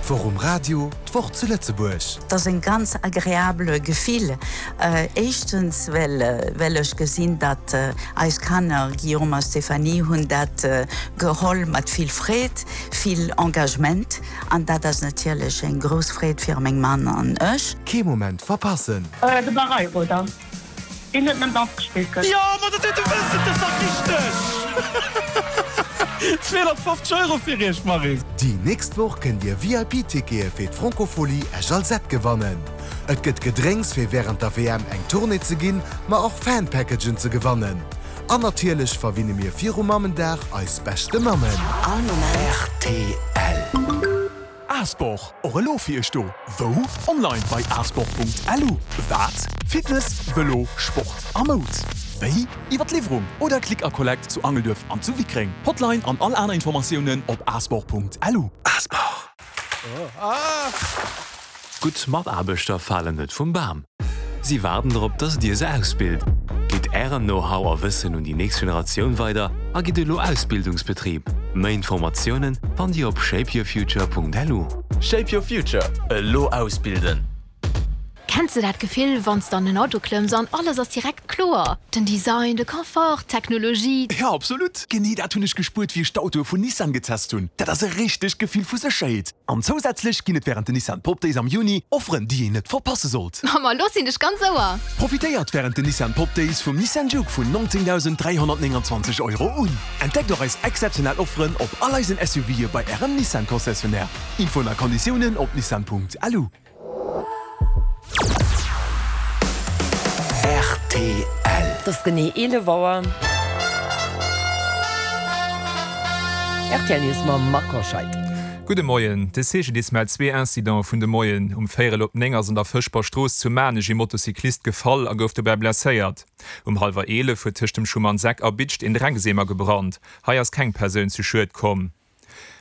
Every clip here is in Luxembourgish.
D'Woch um Radio, d'Woch zu Lëtzebuerg. Et ass en ganz agreabele Gefill. Éischtens well well ech gesinn, datt eis Kanner, Guillaume a Stéphanie, hunn dat geholl mat vill Freed, vill Engagement an dat ass natierlech eng grouss Freed fir meng Mann an ech. Kee Moment verpassen! De Barreiro dann, deen huet nëmmen Danz gespillt gëtt. Jo, ma dat huet de wëssen, dat ass dach richteg! 250 Euro fir iech, Maryse! Déi nächst Woch kënnt dir VIP-Tickete fir d'Francophonie Esch-Alzette gewannen. Et gëtt Gedrénks fir wärend der WM eng Tournée ze ginn, ma och Fan-Packagen ze gewannen. An natierlech verwinne mir viru Mammendag eis beschte Mammen. All Moment. Rtl. Asport, och elo fir iech do. Wou? Online bei asport.lu. Wat? Fitness, Vëlo, Sport a Moud. Wéi? Iwwer d'Liwwerung oder Click a Collect zu Angelduerf an zu Wickreng. Hotline an all aner Informatiounen op asport.lu. Asport. Gutt Mataarbechter falen net vum Bam. Si waarden drop, dass dir se ausbilt. Gitt ären Know-how a Wëssen un déi nächst Generatioun weider a gitt elo Ausbildungsbetrib. Méi Informatiounen fannt dir op shapeyourfuture.lu. Shape your future, elo ausbilden! Kenns de dat Gefill, wann s de an en Auto klëmms an alles ass direkt kloer? Den Design, de Confort, d'Technologie. Jo, absolut! Genee dat hunn ech gespuert, wéi ech d'Autoe vun Nissan getest hunn. Dat ass e richtegt Gefill vu Sécherheet. An zousätzlech ginn et wärend den Nissan Pop Days am Juni Offeren, déi een net verpasse sollt. Ma ma lo sinn ech ganz Ouer! Profitéiert wärend den Nissan Pop Days vum Nissan Juke vun 19.329 Euro un. Entdeckt och eis exzeptionell Offeren op all eisen SUVe bei Ärem Nissan Concessionnaire. Infoen a Konditiounen op nissan.lu. Rtl. Et ass genee 11 Auer. Rtl News mam Marc Hoscheid. Gudde Moien. De CGDIS mellt zwee Incidente vun de Moien. Um véierel op 9 ass an der Fëschber Strooss zu Maarnech ee Motocyclist gefall a gouf dobäi blesséiert. Um hallwer 11 huet tëscht dem Schumannseck a Bidscht een Dreckseemer gebrannt. Hei ass keng Persoun zu Schued komm.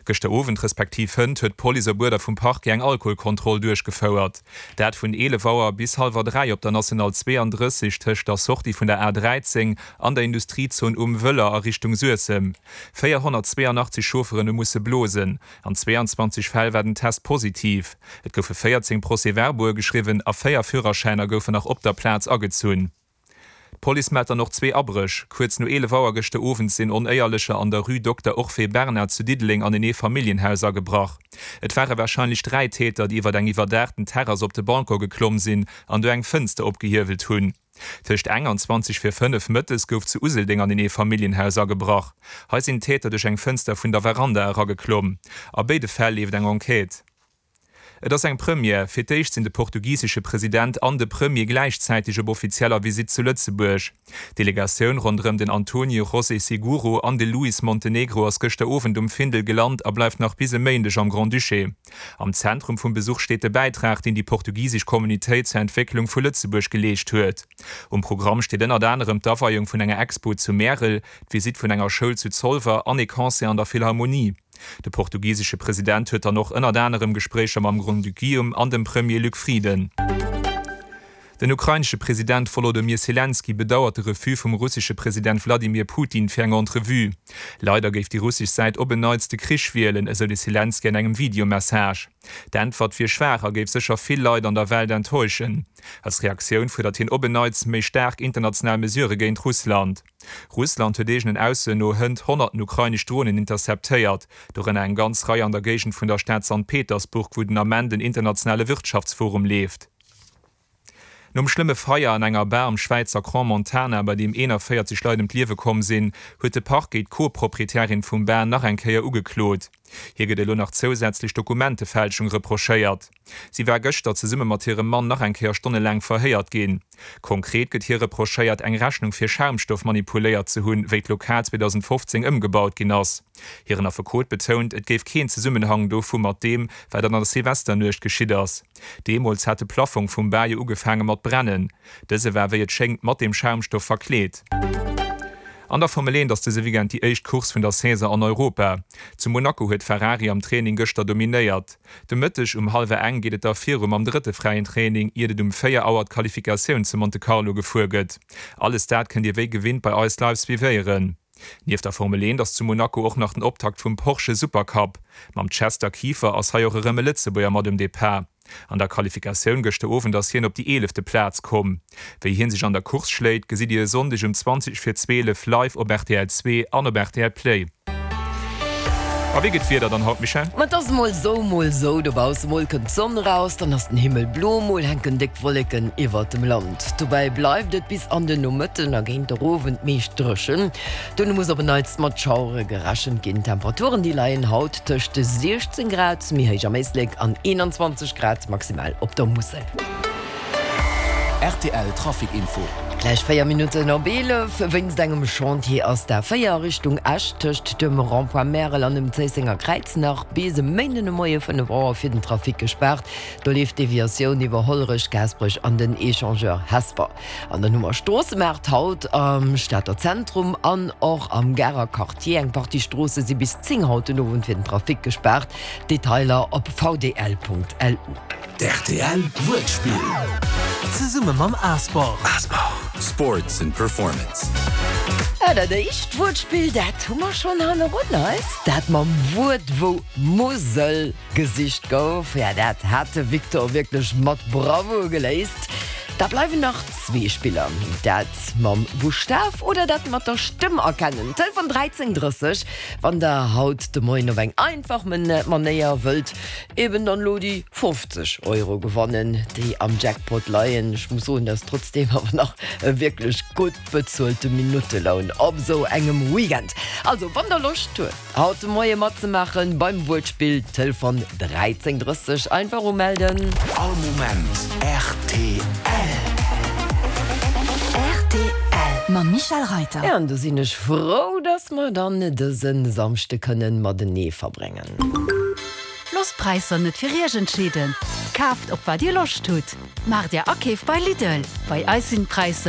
Gëschter Owend respektiv hënt huet d'Police op Uerder vum Parquet eng Alkoholkontroll duerchgefouert. Dat vun 11 Auer bis hallwer 3 op der National 32 tëscht der Sortie vun der A 13 an der Industriezon Um Wëller a Richtung Suessem. 482 Chaufferen hu musse blosen. An 22 Fäll war den Test positiv. Et goufe 14 Procès-verbaue geschriwwen a 4 Führerschäiner goufen nach op der Plaz agezunn. D'Police mellt dann och zwee Abréch. Kuerz no 11 Auer gëschter Owend sinn Onéierlecher an der Rue Dokter Orphée Bernard zu Diddeleng an en Eefamilljenhaus agebrach. Et ware warscheinlech 3 Täter, déi iwwer eng iwwerdaachten Terrass op de Balcon geklomm sinn an do eng Fënster opgehiewelt hunn. Tëscht eng an 20 vir 5 mëttes gouf zu Useldeng an en Eefamilljenhaus agebrach. Hei sinn d'Täter duerch eng Fënster vun der Veranda erageklomm. A béide Fäll leeft eng Enquête. Et ass eng Première, Fir d'éischt sinn de portugisesche President an de Premier gläichzäiteg op offizieller Visitt zu Lëtzebuerg. D'Delegatioun ronderëm den Antonio José Seguro an de Luis Montenegro ass gëschter Owend um Findel gelant a bleift nach bis e Méindeg am Grand-Duché. Am Zentrum vum Besuch steet de Bäitrag, deen déi portugisesch Communautéit zur Entwécklung vu Lëtzebuerg geleescht huet. Um Programm steet ënnert anerem d'Aweiung vun enger Expo zu Märel, d'Visitt vun enger Schoul zu Zolwer an ee Concert an der Philharmonie. De portugisesche President huet dann och ënnert anerem Gespréicher mam Grand-Duc Guillaume an dem Premier Luc Frieden. Den ukrainesche President Wolodymyr Selenskyj bedauert de Refus vum russesche President Wladimir Putin fir eng Entrevue. Leider géif déi russesch Säit op en Neits de Krich wielen, esou de Selenskyj an engem Videomessage. D'Äntwert wier schwaach a géif sécher vill Leit an der Welt enttäuschen. Als Reaktioun fuerdert hien op en Neits méi staark international Mesurë géint Russland. Russland huet eegenen Aussoen no hënt honnerten ukrainesch Dronen interceptéiert, dorënner eng ganz Rei an der Géigend vun der Stad Sankt Petersburg, wou den Ament en internationale Wirtschaftsforum leeft. Nom schlëmme Feier an enger Bar am Schwäizer Crans-Montana, bei deem 41 Leit ëm d'Liewe komm sinn, huet de Parquet d'Co-Proprietärin vum Bar nach eng Kéier ugeklot. Hir gëtt elo nach zousätzlech Dokumentefälschung reprochéiert. Si war gëschter zesumme mat hirem Mann nach eng Kéier stonnelaang verhéiert ginn. Konkret gëtt hir reprochéiert, eng Rechnung fir Schaumstoff manipuléiert ze hunn, wéi d'Lokal 2015 ëmgebaut ginn ass. Hiren Affekot betount, et géif keen Zesummenhang dovu mat deem, wat an der Silvesternuecht geschitt ass. Deemools hat de Plaffong vum Bar jo ugefaange mat brennen. Dëse war wéi et schéngt mat deem Schaumstoff verkleet. An der Formel 1 ass dëse Weekend déi éischt Course vun der Saison an Europa. Zu Monaco huet Ferrari am Training gëschter dominéiert. De Mëtteg um hallwer eng geet et da viru mam drëtte fräien Training, iert et um 4 Auer d'Qualifikatioun zu Monte Carlo gefuer gëtt. Alles dat kënnt Dir wéi gewinnt bei eis live suivéieren. Nieft der Formel 1 ass zu Monaco och nach den Optakt vum Porsche Supercup. Mam Chester Kieffer ass hei och erëm e Lëtzebuerger mat um Depart. An der Qualifikatioun gëschter Owend ass hien op déi eelefte Plaz komm. Wéi hien sech an der Course schléit, gesitt Dir e Sonndeg um 20 vir 12 live op rtl 2 an op rtl Play. A wéi gëtt d'Wieder dann haut, Michèle? Ma et ass mol sou, mol sou dobausse. Mol kënnt d'Sonn eraus, dann ass den Himmel blo, mol hänken déck Wolleken iwwert dem Land. Dobäi bleift et bis an den Nomëtten a géint der Owend meescht dréchen. Dono muss op en Neits mat Schauere gerechent ginn. D'Temperaturen déi leien haut tëscht 16 Grad méi héich am Éislek an 21 Grad maximal op der Musel. Rtl Trafic Info. Gläich 4 Minutten op 11. Wéinst engem Chantier ass d'A4 a Richtung Esch tëscht dem Rond-point Märel an dem Zéissenger Kräiz nach bis e Méinden de Moie 5 Auer fir den Trafic gespaart. Do leeft d'Deviatioun iwwer Hollerech, Gaasperech an den Echangeur Hesper. An dann hu mer Stroossemaart haut am Stater Zentrum an och am Garer Quartier. Eng Partie Stroosse si bis 10 haut den Owend fir den Trafic gespaart. Detailer op vdl.lu. D'RTL Wuertspill zesumme mam Asport. Sports and Performance. Ja, dat éischt Wuertspill, dat hu mer schonn hannerun eis. Dat mam Wuert, wou Musel gesicht gouf, ja, dat hat de Victor wierklech mat Bravour geléist. Da bleiwen nach zwee Spiller, dat mam Buschtaf oder dat mat der Stëmm erkennen. Telefon 13 30, wann der haut de Moien op eng einfach Manéier wëllt Eben dann elo déi 50 Euro gewannen, déi am Jackpot leien. Ech muss soen, dat ass trotzdeem awer nach e wierklech gutt bezuelte Minutteloun op esou engem Weekend. Also, wann der Loscht huet, haut de Moie matzemaachen beim Wuertspill, Telefon 13 30, einfach umelden. All Moment rtl. Rtl mam Michèle Reyter. Ja, an do sinn ech frou, dass mer dann dëse Samschde kënnen matenee verbréngen. Loosst d'Präisser net fir Iech entscheeden, kaaft op wat Dir Loscht hutt. Maacht Är Akeef bei Lidl, bei eis sinn d'Präisser.